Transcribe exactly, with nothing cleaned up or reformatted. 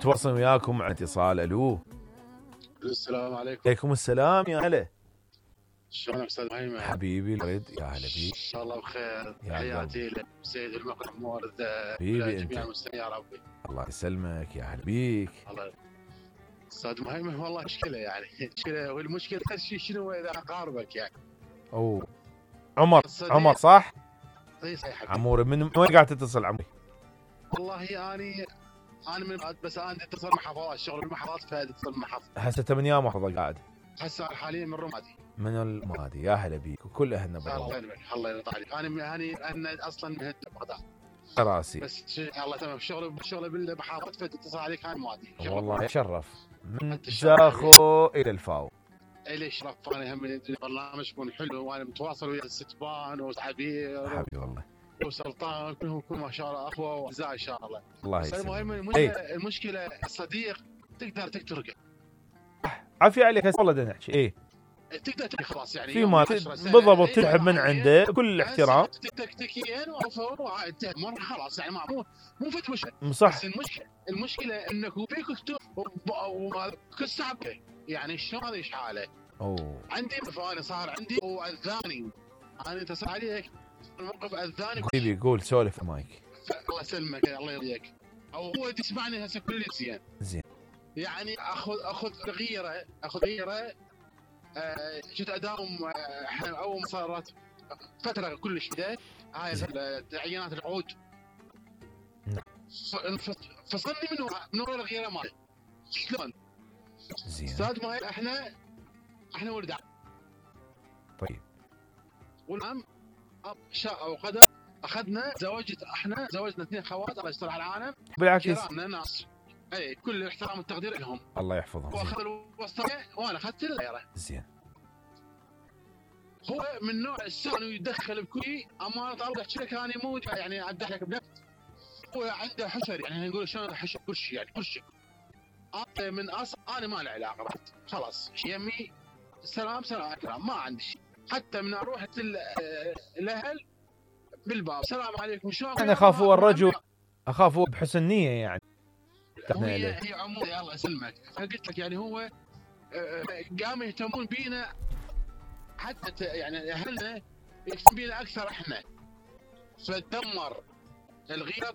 متواصل وياكم مع اتصال. الو السلام عليكم. عليكم السلام يا هلا. شلونك استاذ مهيمن؟ حبيبي الورد يا هلا بيك. ان شاء الله بخير. حياتي لسيد المقدم مورد حبيبي انت. جميع المستمعين يا ربي. الله يسلمك يا هلا بيك. الله استاذ مهيمن والله مشكله يعني مشكله والمشكله شيء شنو اذا اقاربك يعني. اوه عمر عمر صح؟ اي صحيح. عمور من وين قاعد تتصل عمري؟ والله اني انا من بس انا اتصل محافظات الشغل بالمحافظات فاتصل محافظ. هسه من يا محافظه قاعد؟ هسه حاليا من رمادي. من المادي يا هلا بيك وكل اهلنا بالرمادي. الله يبارك الله يرضى عليك. انا انا انا اصلا من بغداد راسي بس الله تمام الشغل الشغل بالمحافظات فاتصل عليك انا مادي. والله يشرف من زاخو الى الفاو. الي شرف انا هم البرنامج يكون حلو وانا متواصل ويا الستبان وعبير حبيبي والله وسلطان كلهم كلهم ما شاء الله اخوه واعزاء ان شاء الله. الله يسلمك. المهم المشكله المشكله الصديق تقدر تقترقه. عافيه عليك والله بدنا نحكي ايه تقدر تحكي خلاص يعني في ما بالضبط تسحب من عنده بكل احترام تكتيكيا وانتهى مره خلاص يعني مو مو فت مشكله صح. بس المشكله المشكله انك فيك كتب وكل ساعه يعني شلون هذا ايش حاله؟ اوه عندي فانا صار عندي واذاني انا اتصل عليك الموقف اذاني. حبيبي قول سولف المايك. الله يسلمك الله يرضيك. او هو تسمعني هسه كل زين زين يعني اخذ اخذ غيره اخذ غيره. آه جيت اداوم احنا آه اول ما صارت فتره كلش بدايه هاي عينات العود فصلني من من ورا الغيره مالي شلون؟ زين استاذ ما احنا احنا ولد عم. طيب والعم شاء وقدر اخذنا زوجت احنا زوجنا اثنين خوات الله يستر على العالم بالعكس كرامنا ناس اي كل الاحترام والتقدير لهم الله يحفظهم. واخذ الوسطيه وانا اخذت الغيره. زين هو من نوع السان يدخل بكل امانه الله احكي لك انا مو يعني ادح لك بنفس. هو عنده حشر يعني نقول شلون حشر كل شيء يعني كل شيء انا من اصل انا ما له علاقه خلاص يمي سلام سلام اكرام ما عندي شيء حتى من اروح الاهل بالباب سلام عليكم شلون. انا اخاف هو الرجل اخاف هو بحسن نيه يعني. هي هي عمود الله يسلمك. فقلت لك يعني هو قاموا يهتمون بينا حتى يعني اهلنا يهتمون بينا اكثر احنا فتدمر الغيره